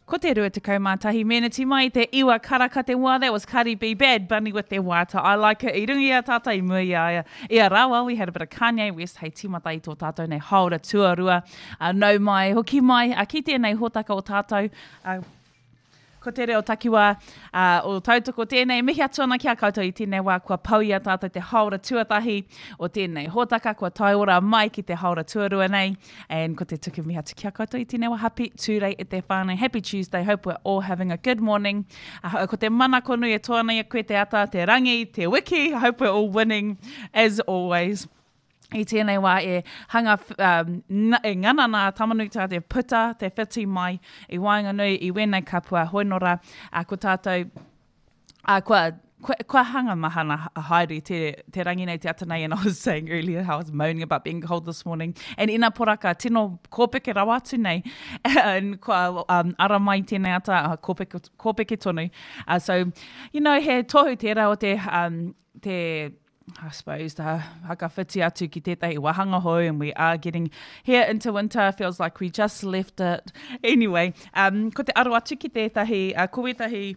Ko te 21 meneti mai te iwa karaka te wā, that was Cardi B, Bad Bunny with te waiata I Like It i runga i a tātou i mua i a ia. I a rāua, we had a bit of Kanye West hei tīmata i tō tātou nei hāora tuarua. Uh, nau mai, hoki mai, uh, ki tēnei hōtaka o tātou. Uh, Ko te reo takiwā uh, o tautoko tēnei. Mihi atu ana ki a koutou i tēnei wā kua pau i a tātou te hāora tuatahi o tēnei hōtaka, kua tae ora mai ki te hāora tuarua nei. And ko te tuku mihi atu ki a koutou i tēnei wā. Happy Tūrei e te whānau. Happy Tuesday. Hope we're all having a good morning. Uh, ko te manako nui e toa ana i a koe te ata, te rangi, te wiki. Hope we're all winning as always. I tēnei wā e hanga, um, na, e ngana nā Tamanuiterā te puta, te whiti mai i waenganui i wēnei kapua hoinora, uh, ko tātou, uh, kua, kua, kua hanga mahana haere te, te rangi nei, te ata nei, and I was saying earlier how I was moaning about being cold this morning. And ina poraka, tino kōpeke rawa atu nei, and kua um, ara mai tēnei ata, uh, kōpeke, kōpeke tonu. Uh, so, you know, he tohu tērā o te, um, te I suppose, te whakawhiti atu ki tētahi wāhanga hou and we are getting here into winter, feels like we just left it. Anyway, um, ko te aro atu ki tētahi, uh, ko wētahi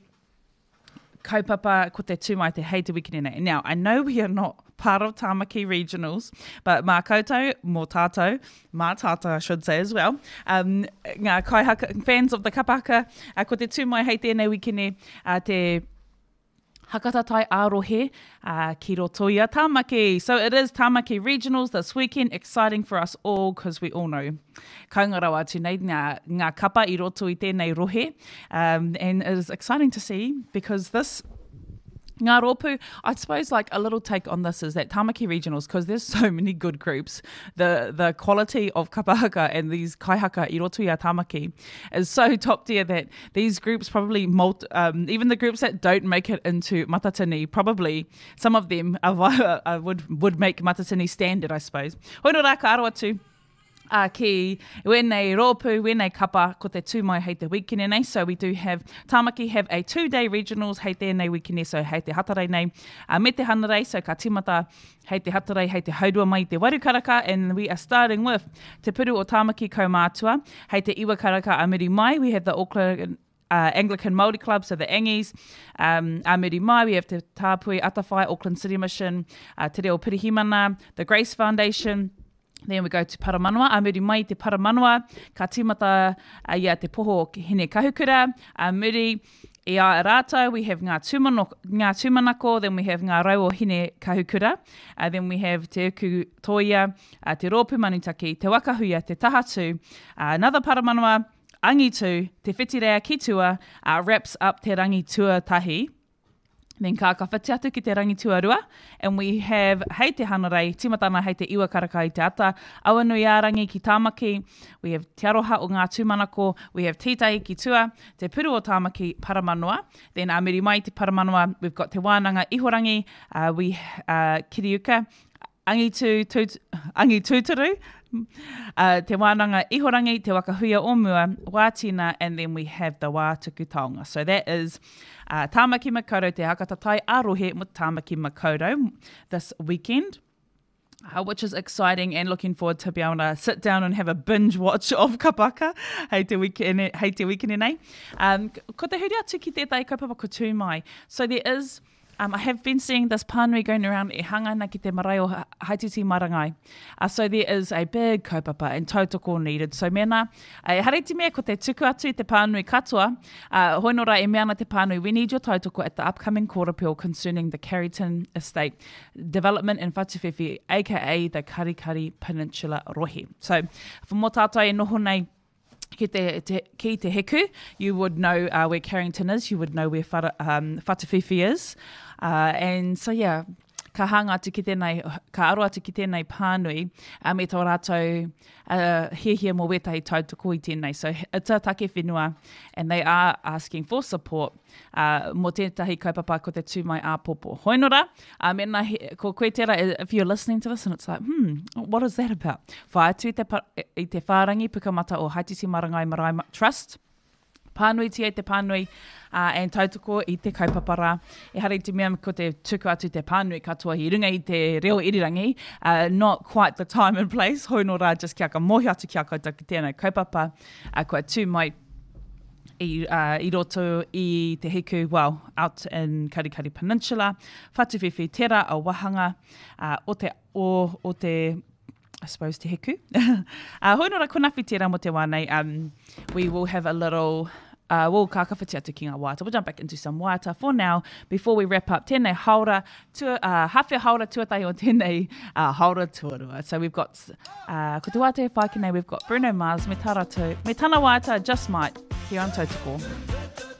kaupapa, ko te tū mai te hei te wikine nei. Now, I know we are not part of Tamaki Regionals, but mā koutou, mō tātou, mā tātou I should say as well, um, ngā kaihaka, fans of the kapahaka, uh, ko te tū mai hei tēnei wikine, uh, te Hakatatai ā-rohe ki roto i a Tāmaki. So it is Tāmaki Regionals this weekend, exciting for us all because we all know kaunga rawa atu nei ngā, ngā kapa i roto i tēnei rohe. Um, and it is exciting to see because this Ngā rōpū, I suppose like a little take on this is that Tāmaki Regionals, because there's so many good groups, the, the quality of kapahaka and these kaihaka i roto i a Tāmaki is so top tier that these groups probably, multi, um, even the groups that don't make it into Matatini, probably some of them are, uh, would, would make Matatini standard, I suppose. Hoi no rā, ka aro atu uh, ki wēnei rōpū, wēnei kapa, ko te tū mai hei te wikene nei. So we do have, Tāmaki have a two-day regionals hei tēnei wikene, so hei te Hatarei nei, uh, me te Hanarei, so ka timata hei te Hatarei, hei te haurua mai i te waru karaka, and we are starting with Te Puru o Tāmaki Kaumātua, hei te iwa karaka a muri mai, we have the Auckland uh, Anglican Māori Club, so the Angies, um, a muri mai, we have Te Tāpui Atawhai, Auckland City Mission, uh, Te Reo Pirihimana, the Grace Foundation, Then we go to Paramanawa, a muri mai i te Paramanawa, ka tīmata i a Te Poho o Hine Kahukura, a muri i a rātou, we have Ngā, Tūmano, Ngā Tūmanako, then we have Ngā Rau o Hine Kahukura, uh, then we have Te Uku Tōia, uh, Te Rōpū Manutaki, Te Waka Huia, Te Tahatū, uh, another Paramanawa, Angitu, Te Whitirea ki Tua, uh, wraps up Te Rangi Tuatahi. Then ka ka whiti atu ki te rangi tuarua, and we have hei te Hanarei, tīmata ana hei te iwa karaka i te ata, Awanuiārangi ki Tāmaki, we have Te Aroha o Ngā Tūmanako, we have Tītahi ki tua, Te Puru o Tāmaki, Paramanoa, then ā muri mai i te Paramanoa, we've got Te Wānanga Ihorangi, uh, we, uh, Kiriuka, Angitu, tūt, Angitūturu, uh, Te Wānanga Ihorangi, Te Waka Huia o Mua, Wātina, and then we have the Wā Tuku Taonga. So that is uh, Tāmaki Makaurau, Te Hakatatai a Rohe mo Tāmaki Makaurau this weekend. Uh, which is exciting and looking forward to be able to sit down and have a binge watch of Kapaka hei te weekend, hei te weekend nei. Um, ko te huri atu ki tētahi kaupapa ko tū mai. So there is Um, I have been seeing this pānui going around e hanga ana ki te marae o Haititi Marangai. Uh, so there is a big kaupapa and tautoko needed. So mēnā, uh, ehara i te mea ko te tuku atu i te pānui katoa, uh, hoi nō rā e mea ana te pānui, we need your tautoko at the upcoming court appeal concerning the Carrington Estate development in Whatuwhiwhi, aka the Karikari Peninsula rohe. So, for mō tātou e noho nei, ki te, te, ki te heku, you would know uh, where Carrington is, you would know where Whara, um, Whatuwhiwhi is. Uh, and so, yeah, ka hanga atu ki tēnei, ka aro atu ki tēnei pānui uh, me tō rātou uh, hiahia mō wētahi tautoko i tēnei. So it's a take whenua and they are asking for support uh, mō tētahi kaupapa ko te tū mai āpōpō. Hoi nō rā, uh, mēnā he, ko koe tērā, if you're listening to this and it's like, hmm, what is that about? Whai atu i te, i te whārangi pukamata o Haititi Marangai Marae Trust, pānuitia i te pānui uh, and tautoko i te kaupapa rā. Ehara i te mea ko te tuku atu te pānui katoa i runga i te reo irirangi, uh, not quite the time and place, hoi nō rā, just kia ka mōhio atu ki a koutou ki tēnei kaupapa, uh, kua tū mai. I, uh, i roto i Te Hiku, well, out in Karikari Peninsula, Whatuwhiwhi, tērā a wahanga uh, o te, o, o te I suppose, Te Hiku. uh, hoi nora, ko nawhi tērā mo te wā nei. Um, we will have a little uh, we'll ka kawhiti atu ki ngā waiata. We'll jump back into some waiata for now before we wrap up tēnei haora, tua, uh, hawhe haora tuatahi o tēnei uh, haora tuarua. So we've got, uh, ko te waiata e whai ki nei, we've got Bruno Mars me tā rātou, me tana waiata Just Might here on Tautoko.